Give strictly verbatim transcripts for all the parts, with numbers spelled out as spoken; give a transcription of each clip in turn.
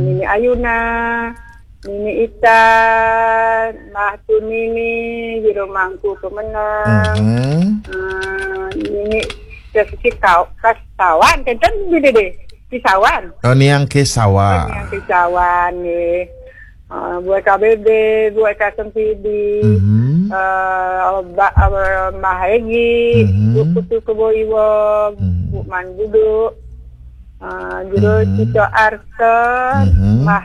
Nini Ayuna, Nini Ita, Mbah Tun Nini, Jero Mangku Kemeneng, Mhm. eh, Nini Sesi Kau, Kasawan, kenten gini deh, Kisawan. Oh, Niang Kesawa. Yang Kisawan nih. Eh, buat K B B, buat K S M P D, Mhm. eh, Mbak, eh, Mbah Hegi, Mhm. Bu Putu Keboiwong, Mhm. Bu Man Budu, eh, Jero Mhm. Cito Arsen, Mhm. Mbah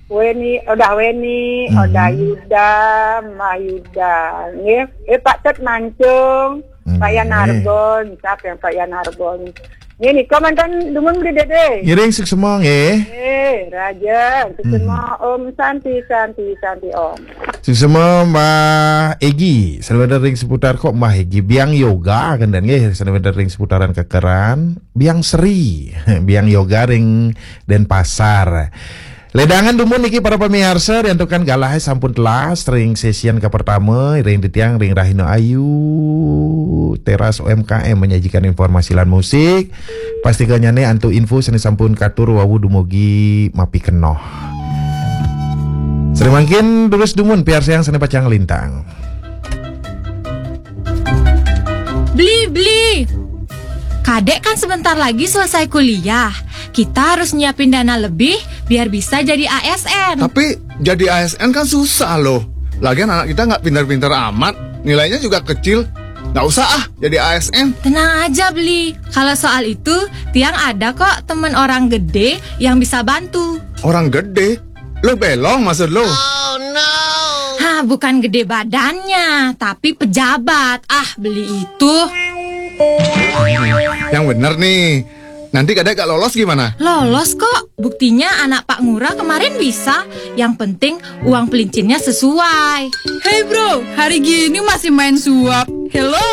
Weni, Odah Weni, Mhm. Odah Yuda, Mbah Yuda, nggih. Eh, Pak Tet Mancung, Mhm. Pak Yan Arbon, siapa yang Pak Yan Arbon? Nggih, nika manten dumun Beli Dede. Ngiring suksma nggih. Eh, Raja, suksma Om Santi, Santi, Santi Om. Suksma Mbah Egi, sawedar ring seputar kok Mbah Egi. Biang Yoga kenten nggih, sawedar ring seputaran Kekeran. Biang Sri, Biang Yoga ring Denpasar. Ledangan dumun niki para pamiarsa, diantukan galahe sampun telas ring sesian kapertama, ring titiang ring Rahina Ayu, Teras U M K M menyajikan informasi lan musik. Pastikanyane antuk info sane sampun katur wau dumugi mapikenoh. Sri mangkin durus dumun piarsayang sane pacang lintang. Beli, beli. Kadek kan sebentar lagi selesai kuliah. Kita harus nyiapin dana lebih biar bisa jadi A S N. Tapi jadi A S N kan susah loh. Lagian anak kita nggak pintar-pintar amat, nilainya juga kecil. Nggak usah ah jadi A S N. Tenang aja, Beli. Kalau soal itu, Tiang ada kok temen orang gede yang bisa bantu. Orang gede? Lo belong maksud lo? Hah, bukan gede badannya, tapi pejabat. Ah, Beli itu. Yang bener nih. Nanti kadek gak lolos gimana? Lolos kok. Buktinya anak Pak Ngurah kemarin bisa. Yang penting uang pelincinnya sesuai. Hey bro, hari gini masih main suap. Hello.